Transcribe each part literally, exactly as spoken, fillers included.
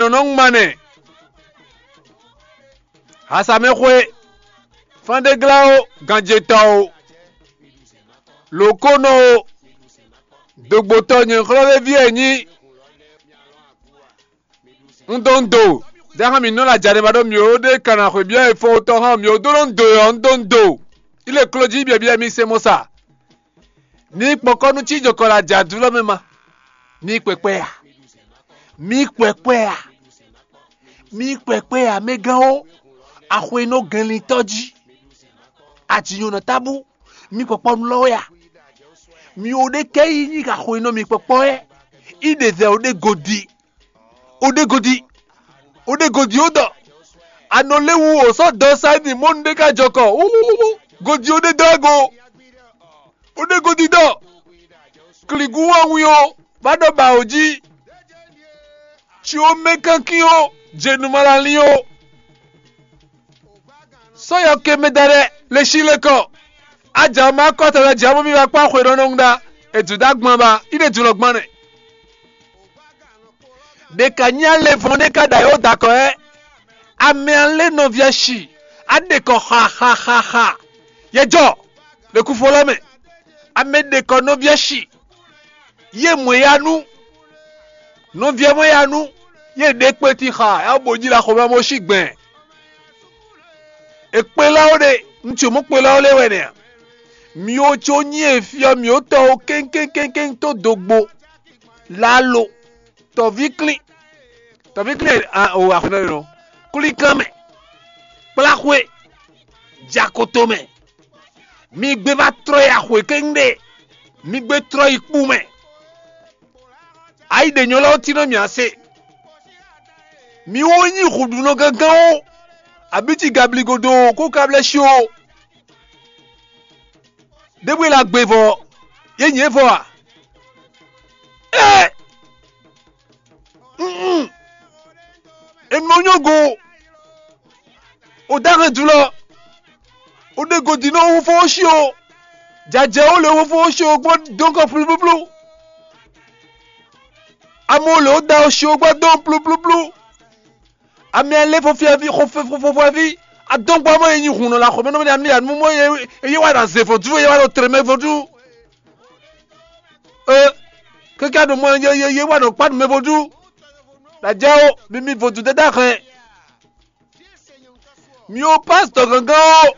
nɔ nɔ ŋma nɛ. Hasamɛxwe, fánɖéglá ó, ganjetɔ́ ó, lǒkónɔ ó, dogbotɔ́ nyɛ̌xlɔ́véví e nyí. Un dó un do, jǎ xá mǐ nɔ lɛ ajǎ ɖé ma ɖó mǐ ó ɖe kan ná xweyǐbyɔ́ e fɔ́n tɔn xá mǐ ó dó nɔ un do ɔ́, un dó un do. Í lě kló jí byɔ̌byɔ́ mì se mɔ sa. Ní kpɔkɔ́ nú cí jɔkɔ lɛ ajǎ dú lɔ mɛ ma. Mí kpɛkpɛ a? Mí kpɛkpɛ a? Mí kpɛkpɛ a, mɛgán ó, axwe nɔ gɛnlintɔ́ jí. Ajǐnyɔ̌nɔ tábú, mí kpɔkpɔ nú lɔ wɛ a? Mi ò ɖe kɛ yi nyi axwe nɔ mi kpɔkpɔ wɛ. Í ɖe zɛ ò ɖe godi. Ò ɖe godi. Ò ɖe godi ó ɖɔ. Anɔ lé wu ò sɔ́ dɔ sa ní mɔnu ɖé ká jɔ kɔ. Wúwúwú. Godi ó ɖe dɔ ego. Ò ɖe godi ɖɔ. Kligu wá wín ó, vá ɖɔ ba ò jí. Tsi ó mɛ kankin ó, jenu ma la lín ó. Sɔ́ yɔ ke mɛ da ɖɛ le sí le kɔ. Aja ma kɔ tɔ lɛ jɛ mɔ mi va kpá xwe ɖɔ nɔ ŋu ɖa. Edu da gbɔn ba, i ɖe du lɔ gbɔn nɛ. Ɖe ka nyí alevɔn ɖe ka ɖa yɔ da kɔ ɛ. Amɛ alé nɔvia si. A ɖe kɔ xa xa xa xa. Yɛ jɔ. Ɖe kufo lɔ mɛ. Amɛ ɖe kɔ nɔvia si. Yé mɔ ya nú. Nɔvia mɔ ya nú. Yé ɖe kpeti xa. Ya bo ji la xɔ ma mo si gbɛn. Ekpelɔ́ ɖe, ŋutsu mɔ̌kpelɔ́ lɛ́ɛ wɛ nɛ́ a? Mǐ ó có nyí efyɔ mǐ ó tɔ́ ó kéŋkéŋkéŋkéŋ tó dogbo, lalo, tɔ̌víklín, tɔ̌víklín a o axɔ́nɔ nɔ, klíkan mɛ, kpláxwé, jakoto mɛ. Mi gbé va trɔ́ yi axwe kéŋ ɖe, mi gbé trɔ́ yi kpú mɛ. Ayi ɖě nyɔ́ lɛ́ɛ ɔ́ tínɔ mì ase. Mi wó nyí hǔɖunɔ gángan ó, abǐ ci gabligo dó kó ka blɛ́ shi ó. Ɖěbǔ e la gbe vɔ, yě nyǐ é vɔ a? Ée! Un un! È nɔ nyɔ́ go. O dó axɔ́ jlɔ́, o ɖe godi nɔ wú fó ó sí o, jajɛ ó lě wú fó ó sí o gbɔn dɔn kɔ plúplúplú. Ame ó lě ó da ó sí o gbɔn dɔn plúplúplú. Ame ɛ lé fɔfɛ́ví xɔfɛ́fɔfɛ́ví adɔn gbɔ mɔ e nyi hun nɔ la xɔ mɛ nɔ mɛ ɖe anu ya nu mɔ ye ye wa ɖa ze vodú ye wa ɖo trɛmɛ vodú. E keke aɖo mɔ ye ye ye wa ɖo kpa nu mɛ vodú. La jɛ o mi mi vodú dada hɛn. Mi ó pásítọ̀ gángan ó.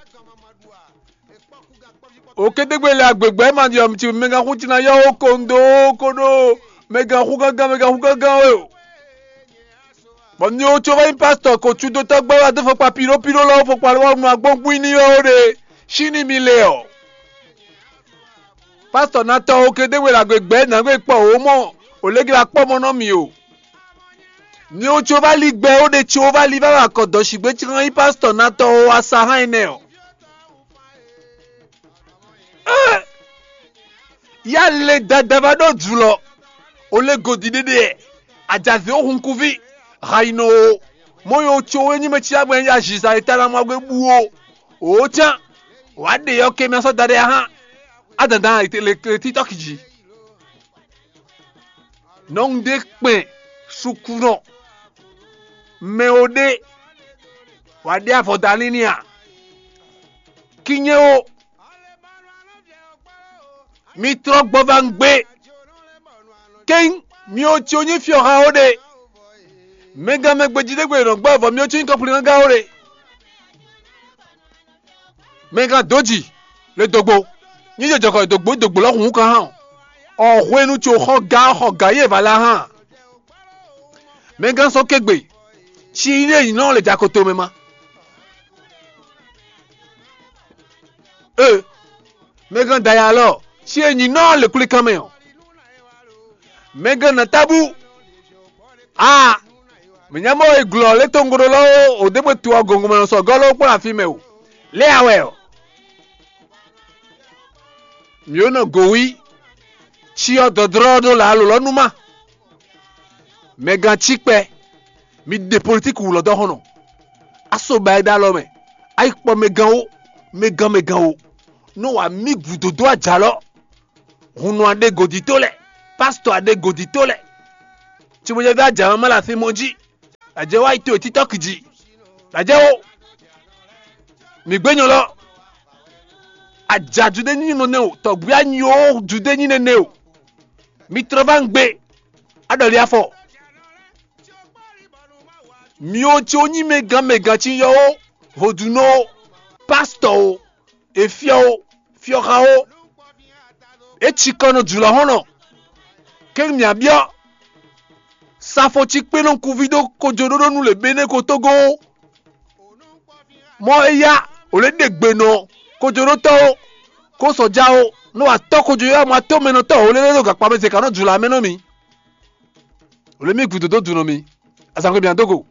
Okédégbé lɛ agbègbè ma ɖi ɔmci mɛgán xú tina yɔ ó ko ndo ó ko ɖó mɛgán xú gángan mɛgán xú gángan ó. Bɔ mi ó có wá nyí pásítọ̀ ko cúdótɔ́ gbɛ́ wá dó fɔkpa píɖópíɖó lɔ́ fɔkpa lɔ́ nu agbógbín ní wɛ ó ɖe. Sín ní mi le ɔ́. Pásítọ̀ ná tɔ okédégbé lɛ agbègbè nǎgbé kpɔ ó mɔ ò lě gla kpɔ́ mɔ nɔ mi o. Ní ó có vá lí gbɛ ó ɖe có vá lí vá wa kɔ dɔ̌ sígbé cíkan nyí pásítọ̀ ná tɔ ó wá sa hán énɛ́ ɔ́. Yá le dada va ɖó jǔlɔ, o lé godi ɖéɖé ɛ, ajazě ó hun kúví, ha yi nɔ o, mɔ yɔ có é nyí mɛ cí agbɛ́n ya zǐza e ta ná mɔ gbé bú ó, o cán, wǎ ɖe yɔ ke mɛ sɔ́ da ɖé ahán, á dandan le títɔ́ kì jí. Nɔ́ un ɖe kpɛn sukunɔ, mɛ o ɖe wǎ ɖe avɔ da n'i n'i a? Kinyɛ o, mi trɔ́ gbɔ va un gbé. Kéŋ mi o ci o nyí fyɔ́ xa ó ɖe. Mɛgán mɛ gbejí ɖé gbe nɔ gbɔ vɔ mi o ci nyí kɔnflíngán ó ɖe. Mɛgán dǒ jì le dǒgbo, nyí jɛ jɔkɔ dǒgbo dǒgbo lɔ hǔn kan hán ɔ, hwenu co xɔ ga xɔ ga yě va la hán. Mɛgán sɔ́ kégbe, ci yí ɖe nyǐ nɔ le jakoto mɛ ma. Ee, mɛgán da ya lɔ, ci e nyǐ nɔ le kwlíkan mɛ ɔ. Mɛgán nɔ tábú. Aa, mǐ nya mɔ e glɔ̌ lé tɔn gɔ́ ɖó lɔ ó, ò dé bó tu ɔ gɔngɔn mɛ sɔgɔ́ ló kplɔ́n afí mɛ o. Lé a wɛ ɔ? Mǐ ó nɔ gǒ wí, cyɔ dɔ̌dlɔ́ ɖó lǎ lǒ lɔ́ nú má. Mɛgán cí kpɛ, mi ɖe politíki wǔ lɔ dɔ́ xɔ́n nɔ. Á so ba é ɖó alɔ mɛ, á yi kpɔ mɛgán ó, mɛgán mɛgán ó. Nú wǎ mí gǔdo dó ajalɔ, hunnɔ a ɖe gǒdító lɛ́ɛ, pásítɔ a ɖe gǒdító lɛ́ɛ. Cibojɛví ajǎ má lɛ afí mɔ jí. Ajɛ wá yi to e TikTok jí. Ajɛ wo. Mi gbé nyɔ lɔ. Aja Judée nyí nɔ nɛ o, tɔgbui anyi o Judée nyí nɛnɛ o. Mi trɔ va ŋgbe. Aɖɔli afɔ. Mi o ci o nyí mɛ gán mɛ gán ci yɔ o, vodunɔ o, pastɔ o, efiɔ o, fiɔxa o. E cikɔ nɔ jula hɔn nɔ. Keng mia biɔ. Safo ci kpe nɔ kuvi dó kojo ɖó ɖó nu le bene ko togo o. Mɔ eya o le ɖe gbe nɔ kojoɖótɔ́ o, kó sɔja o, nɔ wa tɔ́ kojoyɔ́mɔ atɔ́mɛnɔtɔ́ o lélɛ ɖo gakpa mɛ zɛ ka nɔ jula mɛ nɔ mi. O le mi gǔdo dó dunɔ mi. Azǎngbe mia dó go.